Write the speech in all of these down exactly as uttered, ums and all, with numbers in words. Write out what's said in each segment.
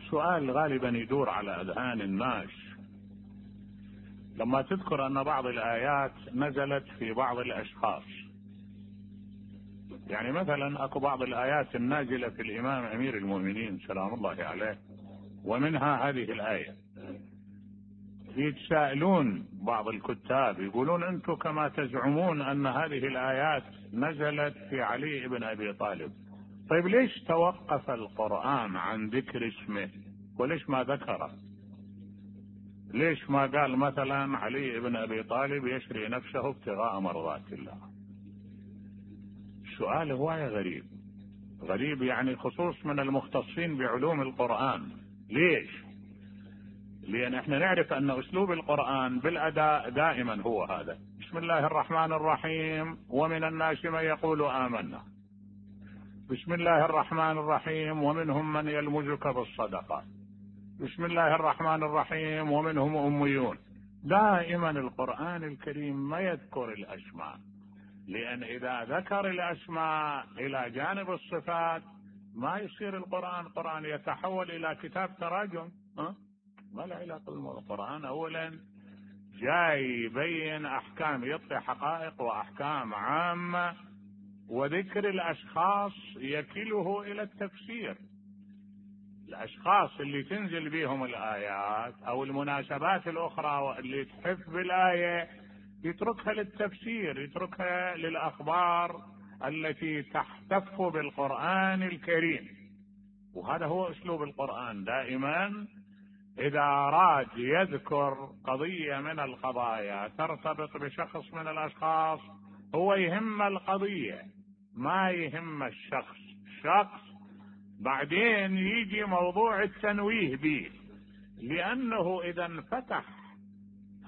سؤال غالبا يدور على أذهان الناس لما تذكر أن بعض الآيات نزلت في بعض الأشخاص. يعني مثلا أكو بعض الآيات النازلة في الإمام أمير المؤمنين سلام الله عليه، ومنها هذه الآية. يتساءلون بعض الكتاب يقولون أنتم كما تزعمون أن هذه الآيات نزلت في علي بن أبي طالب، طيب ليش توقف القرآن عن ذكر اسمه وليش ما ذكره؟ ليش ما قال مثلا علي بن أبي طالب يشري نفسه ابتغاء مرضات الله؟ سؤال هواية غريب غريب يعني خصوص من المختصين بعلوم القرآن. ليش؟ لأن احنا نعرف أن أسلوب القرآن بالأداء دائما هو هذا: بسم الله الرحمن الرحيم ومن الناس من يقول آمنا، بسم الله الرحمن الرحيم ومنهم من يلمزك بالصدقة، بسم الله الرحمن الرحيم ومنهم أميون. دائما القرآن الكريم ما يذكر الأسماء، لأن إذا ذكر الأسماء إلى جانب الصفات ما يصير القرآن قرآن، يتحول إلى كتاب تراجم. أه؟ ما له علاقة بالقرآن. أولا جاي يبين أحكام، يعطي حقائق وأحكام عامة، وذكر الأشخاص يكله إلى التفسير. الأشخاص اللي تنزل بهم الآيات أو المناسبات الأخرى اللي تحف بالآية يتركها للتفسير، يتركها للأخبار التي تحتف بالقرآن الكريم. وهذا هو أسلوب القرآن دائما. إذا أراد يذكر قضية من القضايا ترتبط بشخص من الأشخاص هو يهم القضية ما يهم الشخص. شخص بعدين يجي موضوع التنويه به، لأنه إذا انفتح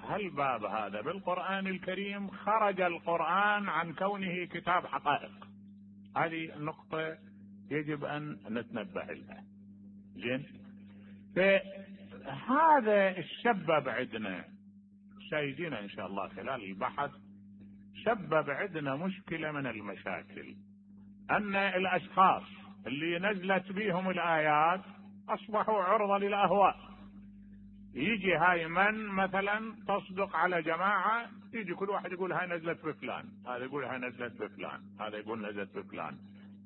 هالباب هذا بالقرآن الكريم خرج القرآن عن كونه كتاب حقائق. هذه النقطة يجب أن نتنبه لها. زين، فهذا السبب عندنا سيدنا إن شاء الله خلال البحث سبب عندنا مشكلة من المشاكل، أن الأشخاص اللي نزلت بهم الآيات أصبحوا عرضة للأهواء. يجي هاي من مثلا تصدق على جماعة، يجي كل واحد يقول هاي نزلت بفلان، هذا يقول هاي نزلت بفلان، هذا يقول نزلت بفلان،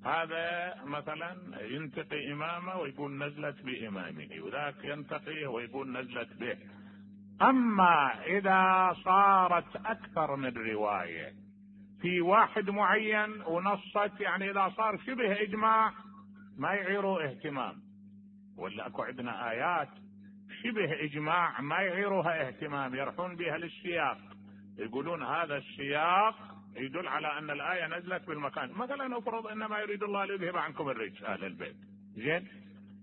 هذا مثلا ينتقي إمامه ويقول نزلت بإمامه، وذاك ينتقيه ويقول نزلت به. أما إذا صارت أكثر من رواية في واحد معين ونصت، يعني إذا صار شبه إجماع ما يعيروا اهتمام، ولا أكو عندنا آيات شبه إجماع ما يعيروها اهتمام، يرحون بها للسياق، يقولون هذا السياق يدل على أن الآية نزلت بالمكان. مثلا افرض إنما يريد الله ليذهب عنكم الرجس أهل البيت. زين،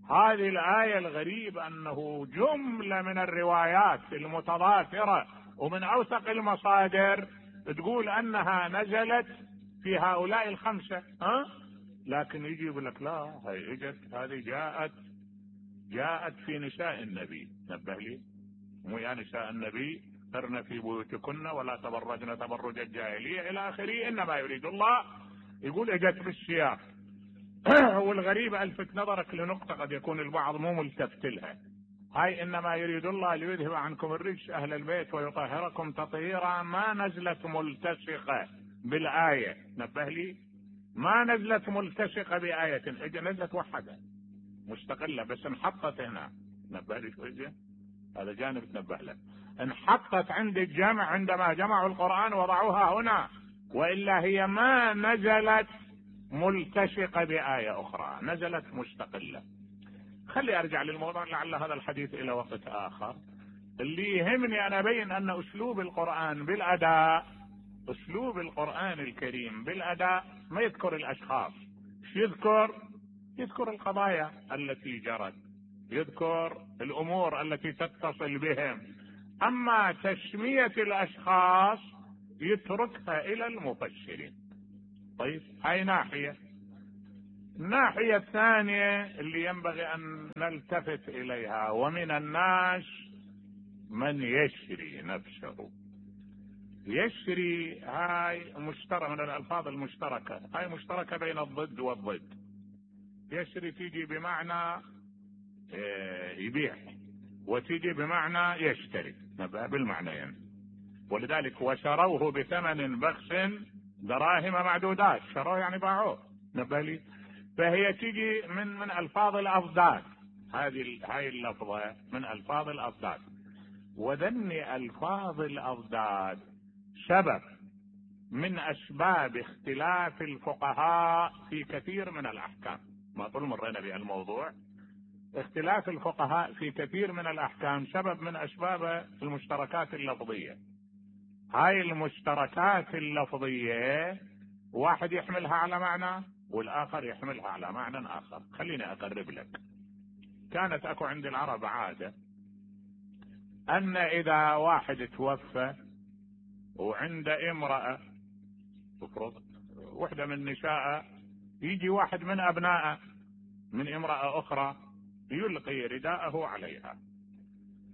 هذه الآية الغريب أنه جملة من الروايات المتضافرة ومن أوثق المصادر تقول أنها نزلت في هؤلاء الخمسة. ها؟ لكن يجي يقول لك لا، هي اجت هذه جاءت جاءت في نساء النبي. نبه لي، مو يا نساء النبي قرن في بيوتكن ولا تبرجن تبرج الجاهلية إلى آخره، إنما يريد الله يقول اجت بالسياق. والغريب ألفت نظرك لنقطة قد يكون البعض مو ملتفت لها. هاي إنما يريد الله ليذهب عنكم الرجس أهل البيت ويطهركم تطهيرا ما نزلت ملتصقة بالآية. نبه لي، ما نزلت ملتصقة بآية، اجى نزلت وحدة مستقلة بس انحطت هنا. نبه لي شوية، هذا جانب تنبه له. انحطت عند الجمع عندما جمعوا القرآن وضعوها هنا، وإلا هي ما نزلت ملتصقة بآية أخرى، نزلت مستقلة. خلي أرجع للموضوع لعل هذا الحديث إلى وقت آخر. اللي يهمني أنا أبين أن أسلوب القرآن بالأداء، أسلوب القرآن الكريم بالأداء ما يذكر الأشخاص، يذكر يذكر القضايا التي جرت، يذكر الأمور التي تتصل بهم. أما تسمية الأشخاص يتركها إلى المفسرين. طيب، هاي ناحية. الناحية الثانية اللي ينبغي أن نلتفت إليها، ومن الناس من يشري نفسه. يشري هاي مشترك من الألفاظ المشتركة، هاي مشتركة بين الضد والضد. يشري تيجي بمعنى يبيع، وتيجي بمعنى يشتري، نبقى بالمعنيين. ولذلك وشروه بثمن بخس دراهم معدودات، شروه يعني باعوه، نبقى لي. فهي تيجي من من الفاظ الاضداد، هذه هاي اللفظه من الفاظ الاضداد. وذني الفاظ الاضداد سبب من اسباب اختلاف الفقهاء في كثير من الاحكام. ما طول مرينا بالموضوع، اختلاف الفقهاء في كثير من الاحكام سبب من اسباب المشتركات اللفظيه. هاي المشتركات اللفظيه واحد يحملها على معنى والاخر يحملها على معنى اخر. خليني اقرب لك. كانت اكو عند العرب عاده ان اذا واحد توفى وعند امرأة تفرض وحدة من نساء، يجي واحد من ابنائه من امرأة اخرى يلقي رداءه عليها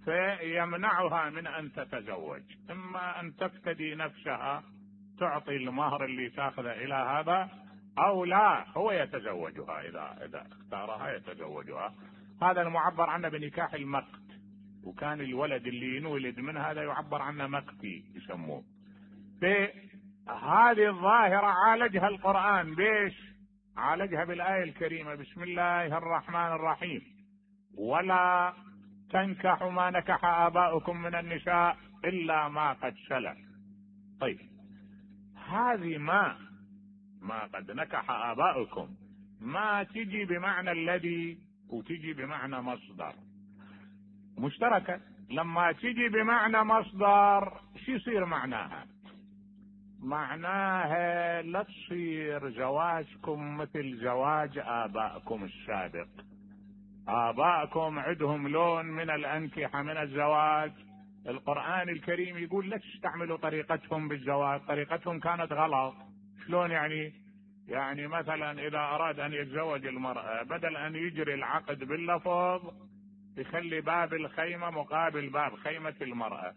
فيمنعها من ان تتزوج، اما ان تفتدي نفسها تعطي المهر اللي تاخذه الى هذا، او لا هو يتزوجها، اذا اذا اختارها يتزوجها. هذا المعبر عنه بنكاح المقت، وكان الولد اللي ينولد من هذا يعبر عنه مقتي يسموه. في هذه الظاهرة عالجها القرآن بيش؟ عالجها بالآية الكريمة بسم الله الرحمن الرحيم: ولا تنكحوا ما نكح آباؤكم من النساء إلا ما قد سلف. طيب هذه ما ما قد نكح آباؤكم ما تجي بمعنى الذي وتجي بمعنى مصدر مشتركة. لما تجي بمعنى مصدر شو يصير معناها؟ معناها لا تصير زواجكم مثل زواج آبائكم السابق. آبائكم عندهم لون من الأنكحة من الزواج، القرآن الكريم يقول لا تستعملوا طريقتهم بالزواج، طريقتهم كانت غلط. شلون يعني؟ يعني مثلا إذا أراد أن يتزوج المرأة بدل أن يجري العقد باللفظ يخلي باب الخيمة مقابل باب خيمة المرأة.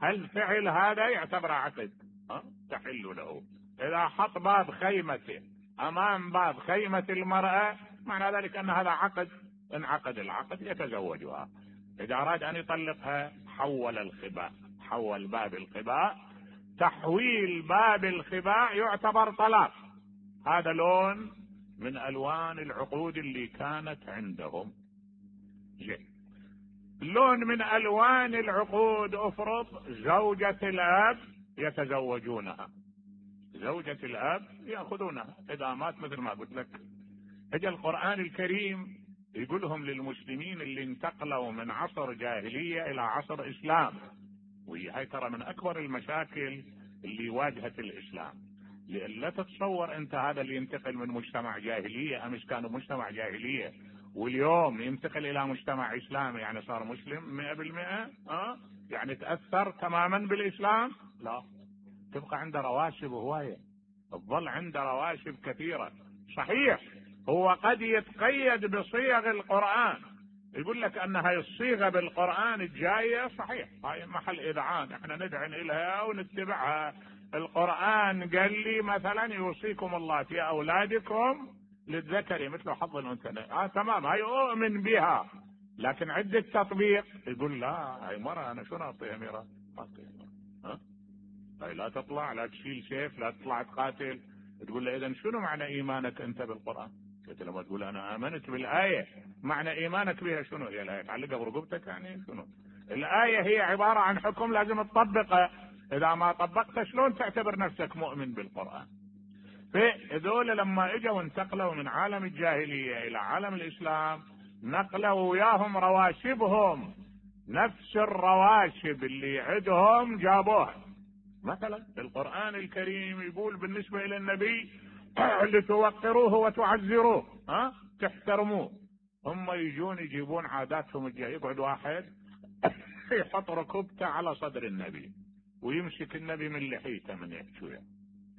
هل فعل هذا يعتبر عقد؟ أه؟ تحل له. إذا حط باب خيمته أمام باب خيمة المرأة معنى ذلك أن هذا عقد، انعقد العقد يتزوجها. إذا أراد أن يطلقها حول الخباء، حول باب الخباء. تحويل باب الخباء يعتبر طلاق. هذا لون من ألوان العقود اللي كانت عندهم. جي. لون من ألوان العقود افرض زوجة الأب يتزوجونها، زوجة الأب يأخذونها إذا مات مثل ما قلت لك. اجى القرآن الكريم يقولهم للمسلمين اللي انتقلوا من عصر جاهلية إلى عصر إسلام، وهي ترى من أكبر المشاكل اللي واجهت الإسلام. لا تتصور أنت هذا اللي ينتقل من مجتمع جاهلية، أمس كانوا مجتمع جاهلية واليوم ينتقل إلى مجتمع إسلامي يعني صار مسلم مئة بالمئة، أه؟ يعني تأثر تماما بالإسلام؟ لا، تبقى عنده رواشب هواية، تظل عنده رواشب كثيرة. صحيح هو قد يتقيد بصيغ القرآن، يقول لك أن هاي الصيغة بالقرآن الجاية صحيح هاي محل إذعان احنا ندعن إليها ونتبعها. القرآن قال لي مثلا يوصيكم الله في أولادكم للذكر مثل حظ الأنثيين، آه تمام هاي أؤمن بها، لكن عدة تطبيق يقول لا هاي مرة أنا شو نعطيها ميراث؟ ها هاي لا تطلع، لا تشيل سيف، لا تطلع تقاتل. تقول له إذا شنو معنى إيمانك أنت بالقرآن؟ قلت لما تقول أنا آمنت بالآية، معنى إيمانك بها شنو؟ هي الآية تعلقها برقبتك يعني شنو؟ الآية هي عبارة عن حكم لازم تطبقه، إذا ما طبقته شلون تعتبر نفسك مؤمن بالقرآن؟ فهذول لما اجوا انتقلوا من عالم الجاهلية إلى عالم الإسلام نقلوا وياهم رواشبهم، نفس الرواشب اللي عندهم جابوها. مثلا القرآن الكريم يقول بالنسبة إلى النبي لتوقروه وتعزروه، ها تحترموه. هم يجون يجيبون عاداتهم الجاهلية، يقعد واحد يحط ركبته على صدر النبي ويمسك النبي من لحيته من يحكي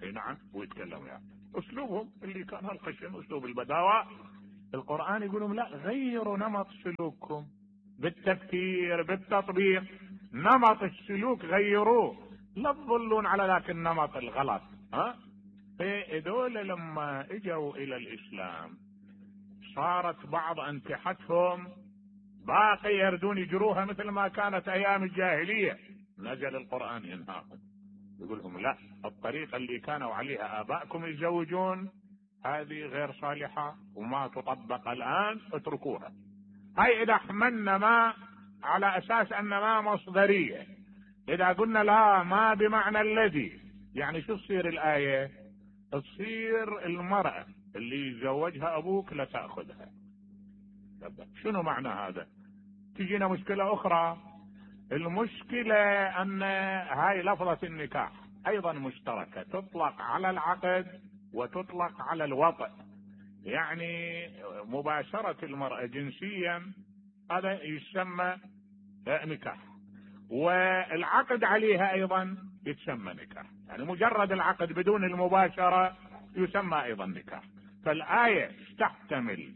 اي نعم ويتكلم يعني اسلوبهم اللي كان هالخشن، اسلوب البداوة. القرآن يقول لهم لا، غيروا نمط سلوككم بالتفكير بالتطبيق، نمط السلوك غيروه، لا تظلون على ذاك النمط الغلط. ها فهذول لما اجوا الى الاسلام صارت بعض انكحتهم باقي يردون يجروها مثل ما كانت ايام الجاهلية. نزل القرآن ينهاهم، يقول لهم لا، الطريقة اللي كانوا عليها آبائكم يتزوجون هذه غير صالحة وما تطبق الآن، اتركوها. هاي إذا حملنا ما على أساس أن ما مصدرية. إذا قلنا لا ما بمعنى الذي، يعني شو تصير الآية؟ تصير المرأة اللي يتزوجها أبوك لا تأخذها. شنو معنى هذا؟ تجينا مشكلة أخرى. المشكلة أن هاي لفظة النكاح أيضا مشتركة، تطلق على العقد وتطلق على الوطء. يعني مباشرة المرأة جنسيا هذا يسمى نكاح، والعقد عليها أيضا يتسمى نكاح. يعني مجرد العقد بدون المباشرة يسمى أيضا نكاح. فالآية تحتمل،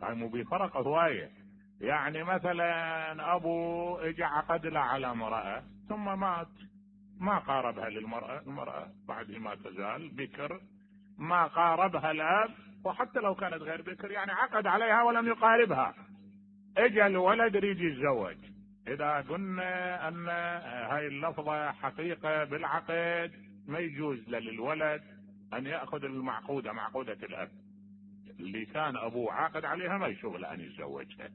يعني مو بفرق هواية. يعني مثلا أبو اجى عقد له على امرأة ثم مات، ما قاربها للمرأة، المرأة بعد ما تزال بكر، ما قاربها الأب، وحتى لو كانت غير بكر يعني عقد عليها ولم يقاربها، اجى الولد يريد يتزوج. إذا قلنا أن هاي اللفظة حقيقة بالعقد ما يجوز للولد أن يأخذ المعقودة، معقودة الأب اللي كان أبوه عاقد عليها، ما يشغل أن يتزوجها.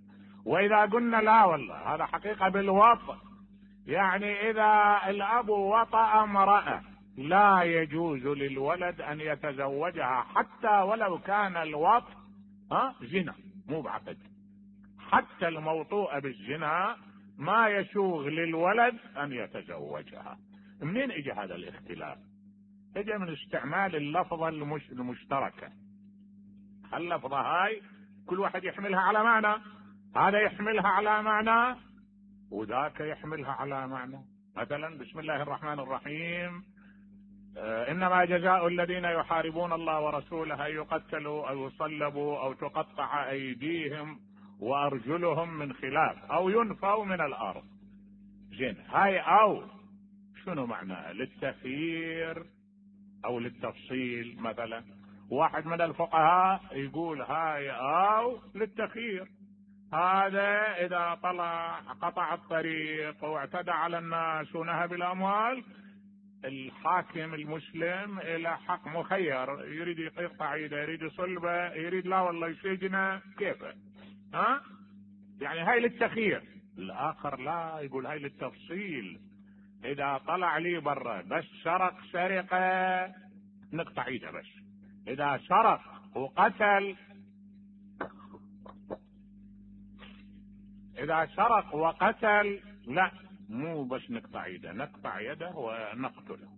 وإذا قلنا لا والله هذا حقيقة بالوطء، يعني إذا الأب وطأ امرأة لا يجوز للولد أن يتزوجها حتى ولو كان الوطء ها زنا مو بعقد. حتى الموطوءة بالزنا ما يسوغ للولد أن يتزوجها. منين اجى هذا الاختلاف؟ اجى من استعمال اللفظة المش... المشتركة. اللفظة هاي كل واحد يحملها على معنى، هذا يحملها على معنى وذاك يحملها على معنى. مثلا بسم الله الرحمن الرحيم، آه إنما جزاء الذين يحاربون الله ورسوله أن يقتلوا أو يصلبوا أو تقطع أيديهم وأرجلهم من خلاف أو ينفوا من الأرض. زين، هاي أو شنو معناها؟ للتخيير أو للتفصيل. مثلا واحد من الفقهاء يقول هاي أو للتخيير، هذا إذا طلع قطع الطريق واعتدى على الناس ونهب الأموال، الحاكم المسلم إلى حق مخير، يريد يقطع يده، يريد يصلبه، يريد لا والله يسجنه، كيفه؟ ها؟ يعني هاي للتخيير. الآخر لا، يقول هاي للتفصيل. إذا طلع لي برا بس سرق سرقة نقطع يده بس، إذا سرق وقتل، إذا سرق وقتل لا، مو بس نقطع يده، نقطع يده ونقتله.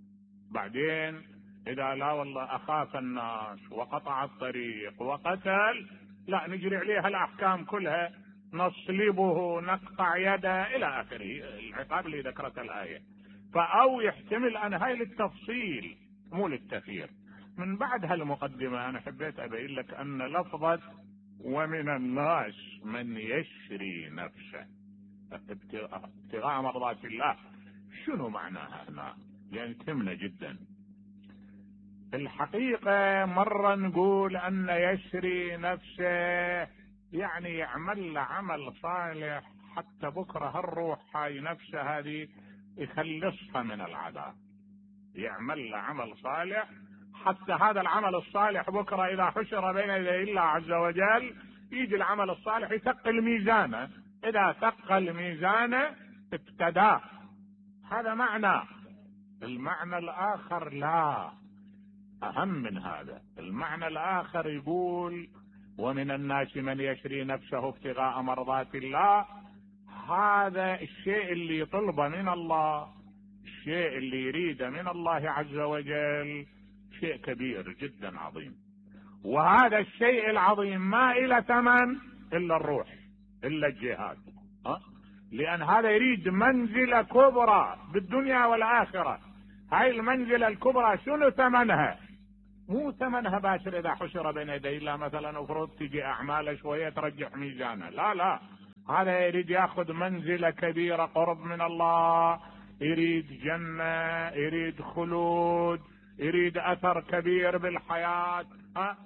بعدين إذا لا والله أخاف الناس وقطع الطريق وقتل، لا، نجري عليها الأحكام كلها، نصلبه، نقطع يده إلى آخره العقاب اللي ذكرت الآية. فأو يحتمل أن هاي للتفصيل مو للتخيير. من بعد هالمقدمة أنا حبيت أبين لك أن لفظة ومن الناس من يشري نفسه ابتغاء مرضات الله شنو معناها هنا؟ يعني تهمنا جدا. الحقيقة مرة نقول أن يشري نفسه يعني يعمل عمل صالح حتى بكرة هالروح هاي نفسه هذه يخلصها من العذاب، يعمل عمل صالح حتى هذا العمل الصالح بكرة إذا حشر بين يدي الله عز وجل يجي العمل الصالح يثقل ميزانه، إذا ثقل ميزانه ابتداه. هذا معنى. المعنى الآخر لا، أهم من هذا. المعنى الآخر يقول ومن الناس من يشري نفسه ابتغاء مرضات الله. هذا الشيء اللي يطلبه من الله، الشيء اللي يريده من الله عز وجل شيء كبير جدا عظيم، وهذا الشيء العظيم ما إلى ثمن إلا الروح، إلا الجهاد. أه؟ لأن هذا يريد منزلة كبرى بالدنيا والآخرة. هاي المنزلة الكبرى شنو ثمنها؟ مو ثمنها باشر إذا حشر بين يدي الله مثلا وفرض تجي أعماله شوية ترجح ميزانه، لا لا، هذا يريد ياخذ منزلة كبيرة قرب من الله، يريد جنة، يريد خلود، يريد أثر كبير بالحياة. ها؟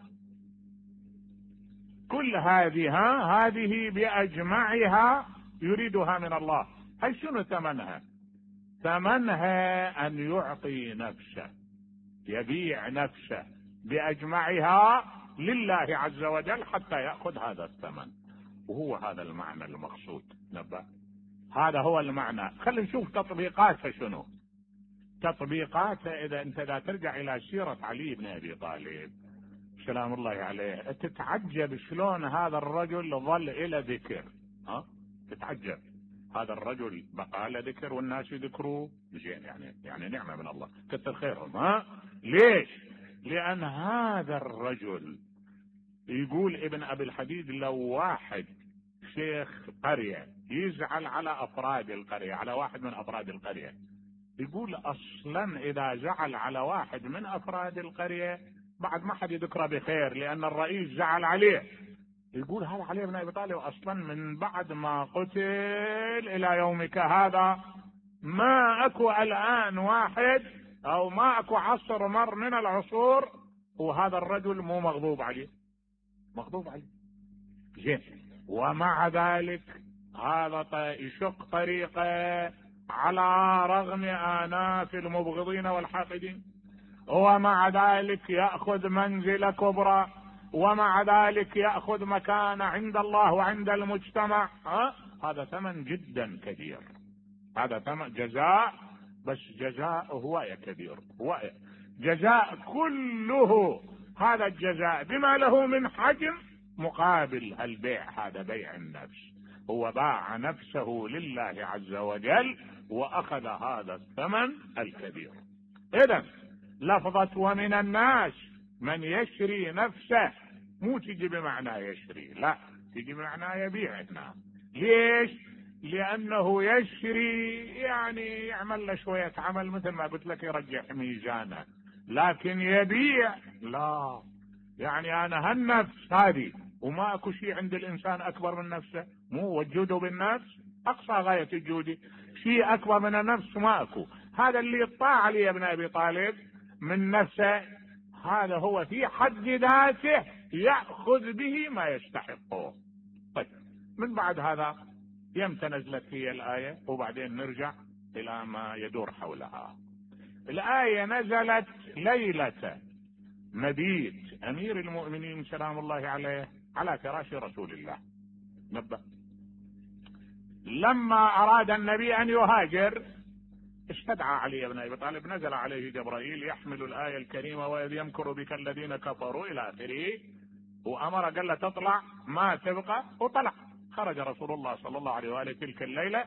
كل هذه هذه بأجمعها يريدها من الله. هل شنو ثمنها؟ ثمنها أن يعطي نفسه، يبيع نفسه بأجمعها لله عز وجل حتى يأخذ هذا الثمن، وهو هذا المعنى المقصود. نبأ هذا هو المعنى. خلينا نشوف تطبيقاتها شنو. تطبيقاتها إذا أنت لا ترجع إلى سيرة علي بن أبي طالب سلام الله عليه تتعجب شلون هذا الرجل ظل إلى ذكر. ها تتعجب هذا الرجل بقى له ذكر والناس يذكروه زين، يعني يعني نعمة من الله كثر خيرهم. ها ليش؟ لأن هذا الرجل يقول ابن أبي الحديد لو واحد شيخ قرية يزعل على أفراد القرية، على واحد من أفراد القرية، يقول أصلا إذا زعل على واحد من أفراد القرية بعد ما حد يذكره بخير لأن الرئيس زعل عليه. يقول هذا علي بن أبي طالب أصلا من بعد ما قتل إلى يومك هذا ما أكو الآن واحد أو ما أكو عصر مر من العصور وهذا الرجل مو مغضوب عليه، مغضوب عليه زين. ومع ذلك هذا يشق طريقه على رغم آناف المبغضين والحاقدين، ومع ذلك يأخذ منزلة كبرى، ومع ذلك يأخذ مكانة عند الله وعند المجتمع. ها؟ هذا ثمن جدا كبير، هذا ثمن جزاء، بس جزاء هو كبير، هو جزاء كله. هذا الجزاء بما له من حجم مقابل البيع، هذا بيع النفس، هو باع نفسه لله عز وجل وأخذ هذا الثمن الكبير. إذن لفظة ومن الناس من يشري نفسه مو تجي بمعنى يشري، لا تجي بمعنى يبيع هنا. ليش؟ لأنه يشري يعني يعمل له شوية عمل مثل ما قلت لك يرجح ميزانه، لكن يبيع لا، يعني أنا هالنفس هذه وما أكو شيء عند الإنسان أكبر من نفسه، مو وجوده بالنفس أقصى غاية الجود، شيء أكبر من النفس ما أكو. هذا اللي يطاع علي بن أبي طالب من نفسه هذا هو في حد ذاته يأخذ به ما يستحقه. طيب من بعد هذا يمتى نزلت هي الآية وبعدين نرجع إلى ما يدور حولها. الآية نزلت ليلة مبيت أمير المؤمنين سلام الله عليه على فراش رسول الله. نبأ لما أراد النبي أن يهاجر استدعى علي بن أبي طالب، نزل عليه جبرائيل يحمل الآية الكريمة وإذ يمكر بك الذين كفروا إلى آخره، وأمر قال له تطلع ما تبقى، وطلع. خرج رسول الله صلى الله عليه وآله تلك الليلة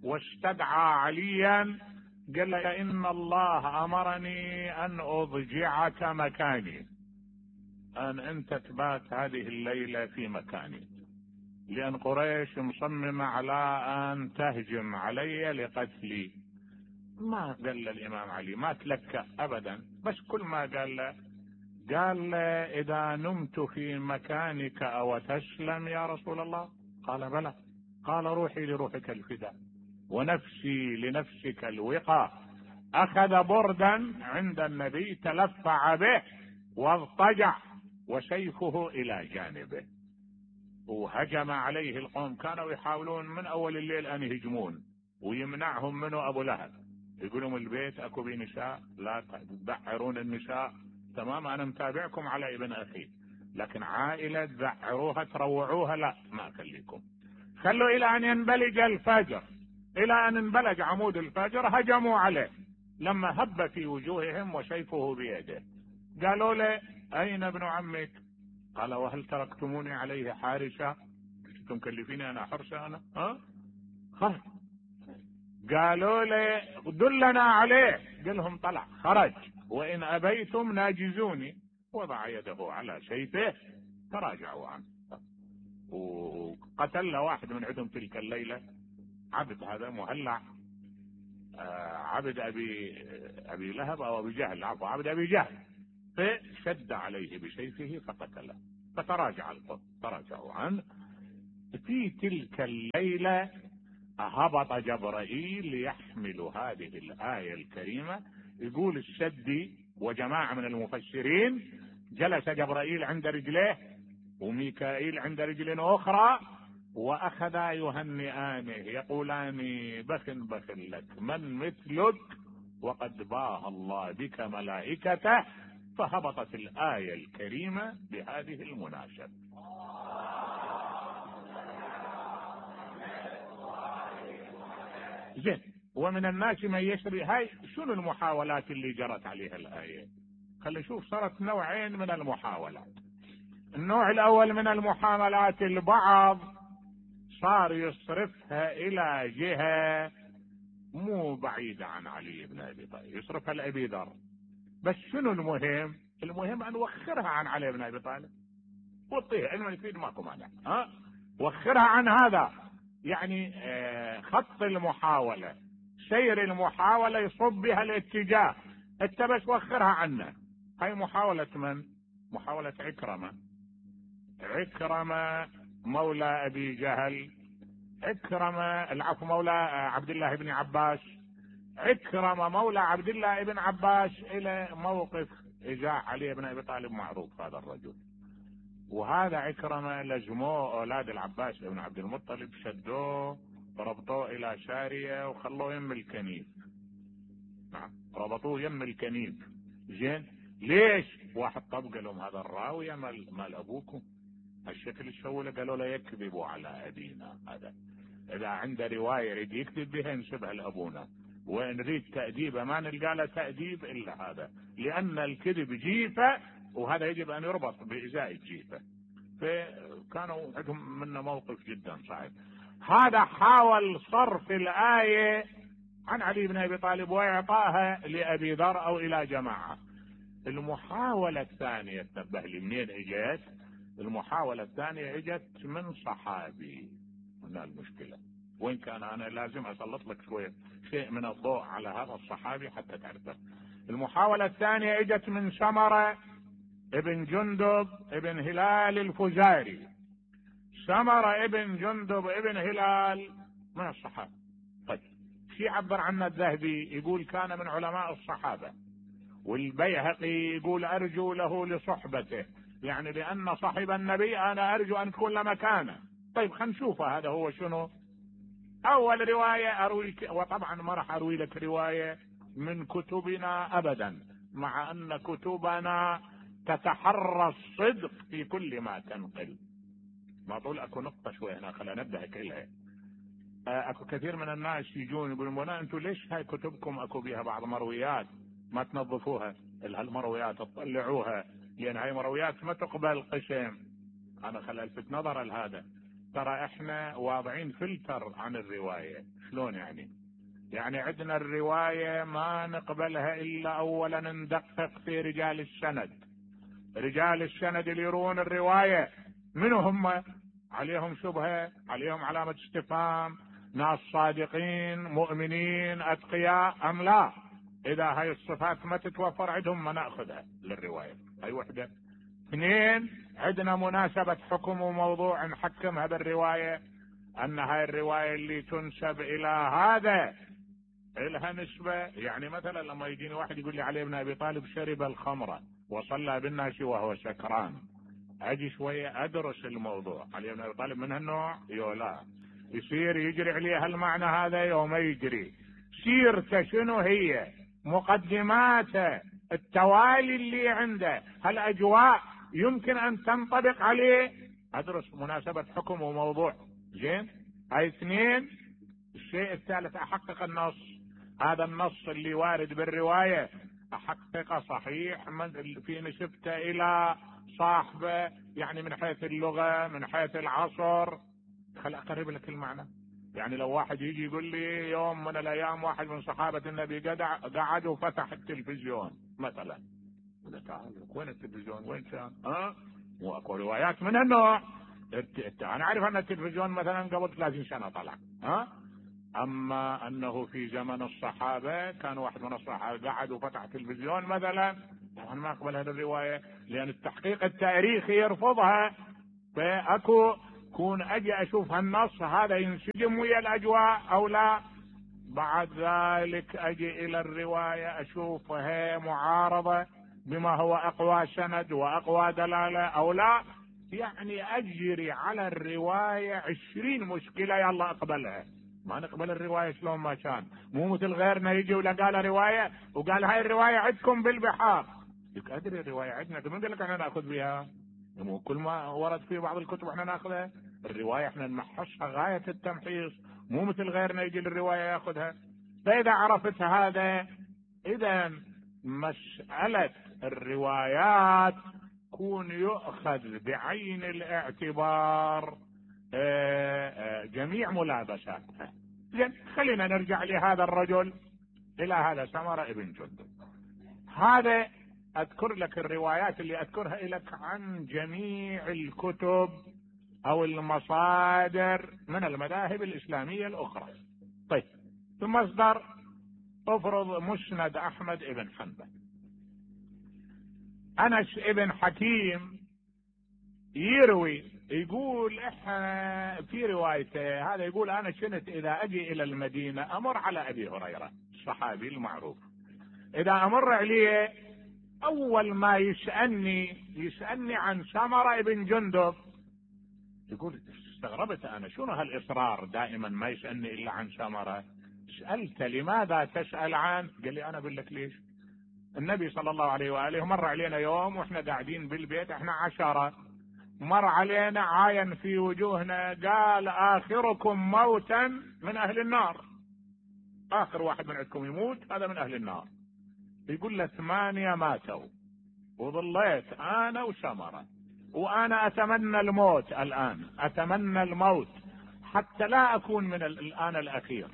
واستدعى عليا قال له إن الله أمرني أن أضجعك مكاني، أن أنت تبات هذه الليلة في مكاني، لأن قريش مصممة على أن تهجم علي لقتلي. ما قال الإمام علي ما تلكأ أبدا، بس كل ما قال له قال له إذا نمت في مكانك أو تسلم يا رسول الله؟ قال بلى. قال روحي لروحك الفداء ونفسي لنفسك الوقاء. أخذ بردا عند النبي تلفع به واضطجع وسيفه إلى جانبه، وهجم عليه القوم. كانوا يحاولون من أول الليل أن يهجمون ويمنعهم منه أبو لهب، يقولون البيت أكو بي نساء لا تذعرون النساء، تمام أنا متابعكم على ابن أخي، لكن عائلة تذعروها تروعوها لا ما أخليكم. خلوا إلى أن ينبلج الفجر، إلى أن انبلج عمود الفجر هجموا عليه، لما هب في وجوههم وسيفه بيده. قالوا له أين ابن عمك؟ قال وهل تركتموني عليه حارسا؟ كنتم مكلفيني أنا حرسة أنا؟ ها؟ خرج. قالوا له دلنا عليه، قال لهم طلع خرج، وإن أبيتم ناجزوني. وضع يده على سيفه تراجعوا عنه، وقتل واحد من عندهم تلك الليلة، عبد هذا مهلع، آه عبد أبي أبي لهب أو أبي جهل، عفوا عبد أبي جهل، فشد عليه بسيفه فقتله، فتراجع القوم تراجعوا عنه. في تلك الليلة هبط جبرائيل يحمل هذه الآية الكريمة. يقول السدي وجماعة من المفسرين جلس جبرائيل عند رجليه وميكائيل عند رجل أخرى، وأخذا يهنئانه يقولان بخ بخ لك من مثلك وقد باه الله بك ملائكته، فهبطت الآية الكريمة بهذه المناسبة. زين. ومن الناس من يشري. هاي شنو المحاولات اللي جرت عليها الآية؟ خلي نشوف. صارت نوعين من المحاولات. النوع الأول من المحاولات البعض صار يصرفها إلى جهة مو بعيدة عن علي بن أبي طالب، يصرفها لأبي ذر. بس شنو المهم؟ المهم أن وخرها عن علي بن أبي طالب وطيها علما يفيد ماكو مانع. ها وخرها عن هذا، يعني آه خط المحاولة، سير المحاولة يصب بها الاتجاه، انت بس وخرها عنه. هاي محاولة من؟ محاولة عكرمة. عكرمة مولى أبي جهل، عكرمة العفو مولى عبد الله بن عباس، عكرمة مولى عبد الله بن عباس إلى موقف إجاء علي بن أبي طالب. معروف هذا الرجل. وهذا عكرمة لزموه أولاد العباس بن عبد المطلب، شدوه ربطوه إلى سارية وخلوه يم الكنيف. نعم ربطوه يم الكنيف. زين. ليش؟ واحد طب قال لهم هذا الراوية مال, مال أبوكم الشكل الشولة، قالوا له يكذبوا على أبينا. هذا إذا عنده رواية يريد يكذب بها نسبها لأبونا، وإن نريد تأديبه ما نلقى له تأديب إلا هذا، لأن الكذب جيفة، وهذا يجب أن يربط بإزاء الجيفة. فكانوا عندهم منه موقف جدا صعب. هذا حاول صرف الآية عن علي بن أبي طالب وإعطائها لأبي ذر أو إلى جماعة. المحاولة الثانية تنبه لي منين اجت؟ المحاولة الثانية اجت من صحابي. هنا المشكلة، وين كان انا لازم اسلط لك شوية شيء من الضوء على هذا الصحابي حتى تعرفه. المحاولة الثانية اجت من سمرة ابن جندب ابن هلال الفزاري. سمرة ابن جندب ابن هلال من الصحابة. طيب في عبر عنه الذهبي يقول كان من علماء الصحابة، والبيهقي يقول أرجو له لصحبته، يعني لأن صاحب النبي أنا أرجو أن تكون مكانه. طيب خلينا نشوف هذا هو شنو. أول رواية أرويك، وطبعا ما راح أروي لك رواية من كتبنا أبدا، مع أن كتبنا تتحرى الصدق في كل ما تنقل. ما طول أكو نقطة شوي هنا خلينا نبدأ كلها. أكو كثير من الناس يجون يقولون أنتم ليش هاي كتبكم أكو بها بعض مرويات ما تنظفوها؟ المرويات تطلعوها، لأن هاي مرويات ما تقبل قسم. أنا خل ألفت نظر لهذا. ترى إحنا واضعين فلتر عن الرواية. شلون يعني؟ يعني عندنا الرواية ما نقبلها إلا أولا ندقق في رجال السند. رجال السند اللي يرون الرواية منو هم؟ عليهم شبهة، عليهم علامة استفهام، ناس صادقين مؤمنين أتقياء أم لا؟ إذا هاي الصفات ما تتوفر عندهم ما نأخذها للرواية. هاي وحدة. اثنين، عندنا مناسبة حكم وموضوع نحكم هذا الرواية، أن هاي الرواية اللي تنسب إلى هذا إلها نسبة. يعني مثلا لما يجيني واحد يقول لي علي بن أبي طالب شرب الخمرة وصلى بالناس وهو سكران، أجي شوية أدرس الموضوع. علي بن أبي طالب من هالنوع؟ يولا يصير يجري عليه المعنى هذا يوم يجري. سيرته شنو هي؟ مقدماته، التوالي اللي عنده، هالأجواء يمكن أن تنطبق عليه. أدرس مناسبة حكم وموضوع. زين. هاي اثنين. الشيء الثالث أحقق النص. هذا النص اللي وارد بالرواية أحقق صحيح من في نسبته إلى صاحبه، يعني من حيث اللغة من حيث العصر. خل أقرب لك المعنى. يعني لو واحد يجي يقول لي يوم من الأيام واحد من صحابة النبي قعد وفتح التلفزيون مثلا، تعال وين التلفزيون وين كان؟ ها واكو روايات من النوع. انا عارف ان التلفزيون مثلا قبل ثلاثين سنة طلع، ها اما انه في زمن الصحابة كان واحد من الصحابة قعد وفتح تلفزيون مثلا، طبعا ما اقبل هذه الرواية لان التحقيق التاريخي يرفضها. فاكو كون اجي اشوف هالنص هذا ينسجم ويا الاجواء او لا. بعد ذلك اجي الى الرواية اشوفها معارضة بما هو اقوى سند واقوى دلالة او لا. يعني اجري على الرواية عشرين مشكلة يلا اقبلها. ما نقبل الرواية شلون ما كان، مو مثل غيرنا يجي ولا قال رواية وقال هاي الرواية عندكم بالبحار. لك ادري الرواية عندنا، من قال لك احنا ناخذ بها؟ مو كل ما ورد في بعض الكتب احنا ناخذها. الرواية احنا نمحصها غاية التمحيص، مو مثل غيرنا يجي للرواية ياخذها. فاذا عرفت هذا، اذا مسألة الروايات كون يؤخذ بعين الاعتبار جميع ملابساتها. زين، خلينا نرجع لهذا الرجل، الى هذا سمرة ابن جندب. هذا اذكر لك الروايات اللي اذكرها لك عن جميع الكتب او المصادر من المذاهب الاسلامية الاخرى. طيب، المصدر افرض مسند احمد ابن حنبل. انس ابن حكيم يروي يقول احنا في روايته هذا يقول انا كنت اذا اجي الى المدينة امر على ابي هريرة الصحابي المعروف، اذا امر عليه اول ما يسألني يسألني عن سمرة ابن جندب. يقول استغربت انا شنو هالاصرار دائما ما يسألني الا عن سمرة. سألت لماذا تسأل عنه؟ قال لي انا اقول لك ليش. النبي صلى الله عليه وآله مر علينا يوم واحنا قاعدين بالبيت، احنا عشرة، مر علينا عاين في وجوهنا قال اخركم موتا من اهل النار، اخر واحد من عندكم يموت هذا من اهل النار. يقول له ثمانية ماتوا وظليت انا وسمرة، وانا اتمنى الموت الان، اتمنى الموت حتى لا اكون من الان الاخير.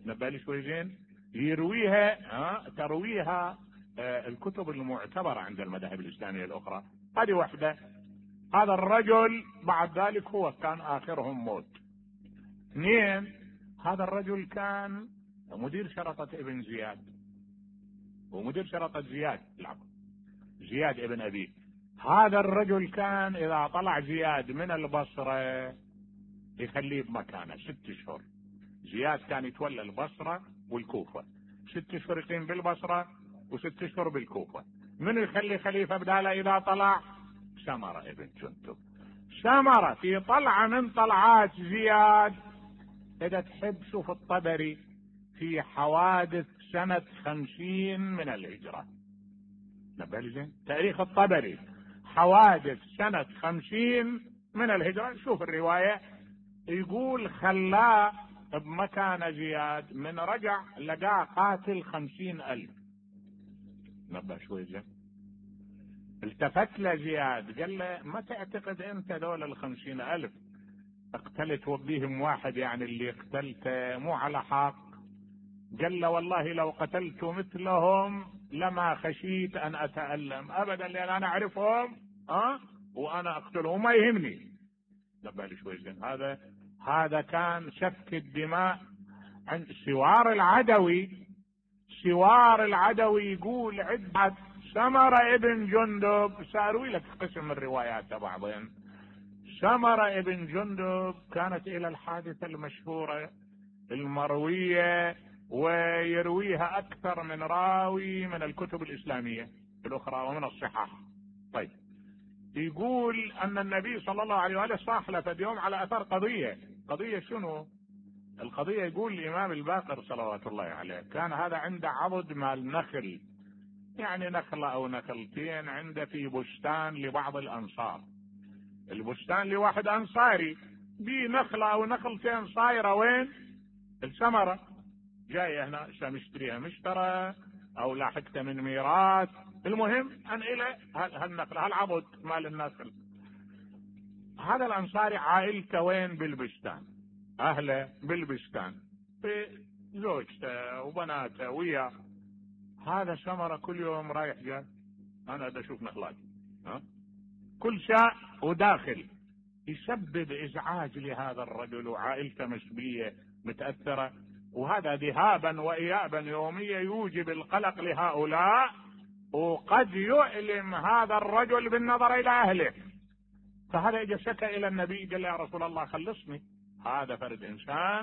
نبالي شوي زين. يرويها ها ترويها آه الكتب المعتبرة عند المذاهب الاسلامية الاخرى. هذه واحدة. هذا الرجل بعد ذلك هو كان اخرهم موت. اثنين، هذا الرجل كان مدير شرطة ابن زياد، ومدير شرطة زياد العفو زياد ابن ابي. هذا الرجل كان اذا طلع زياد من البصرة يخليه بمكانه ست اشهر. زياد كان يتولى البصرة والكوفة، ست اشهر يقيم بالبصرة وست اشهر بالكوفة. من يخلي خليفة بداله اذا طلع؟ سمرة ابن جندب. سمرة في طلعة من طلعات زياد، اذا تحب شوف الطبري في حوادث سنة خمسين من الهجرة. نبالي زين تاريخ الطبري حوادث سنة خمسين من الهجرة. شوف الرواية يقول خلاه بمكان زياد، من رجع لقاه قاتل خمسين الف. نبه شوي زين. التفت له زياد قال له ما تعتقد انت دول الخمسين الف اقتلت وبيهم واحد يعني اللي اقتلته مو على حق؟ قال له والله لو قتلت مثلهم لما خشيت ان اتألم ابدا، لان انا اعرفهم ها وانا اقتلهم ما يهمني. نبالي شوي زين. هذا هذا كان سفك الدماء عند سوار العدوي. سوار العدوي يقول عدة سمرة ابن جندب، ساروي لك قسم الروايات بعضين. سمرة ابن جندب كانت الى الحادثة المشهورة المروية ويرويها اكثر من راوي من الكتب الاسلامية الاخرى ومن الصحاح. طيب، يقول ان النبي صلى الله عليه وآله صاحلف اليوم على اثر قضية. قضية شنو القضية؟ يقول الامام الباقر صلوات الله عليه كان هذا عنده عضد مال نخل، يعني نخلة او نخلتين عنده في بستان لبعض الانصار. البستان لواحد انصاري بي نخلة او نخلتين صايرة وين؟ السمرة جاية هنا مشتريها مشترى او لاحقته من ميراث. المهم ان الى هالنخلة هالعضد مال النخل. هذا الانصاري عائلته وين؟ بالبستان، اهله بالبستان في زوجته وبناته وياه. هذا سمرة كل يوم رايح جاي انا دا اشوف نخلاتي ها كل شاء وداخل، يسبب ازعاج لهذا الرجل وعائلته مسبية متأثرة، وهذا ذهابا وايابا يوميا يوجب القلق لهؤلاء، وقد يؤلم هذا الرجل بالنظر الى اهله. فهذا اجى شكى الى النبي قال يا رسول الله خلصني، هذا فرد انسان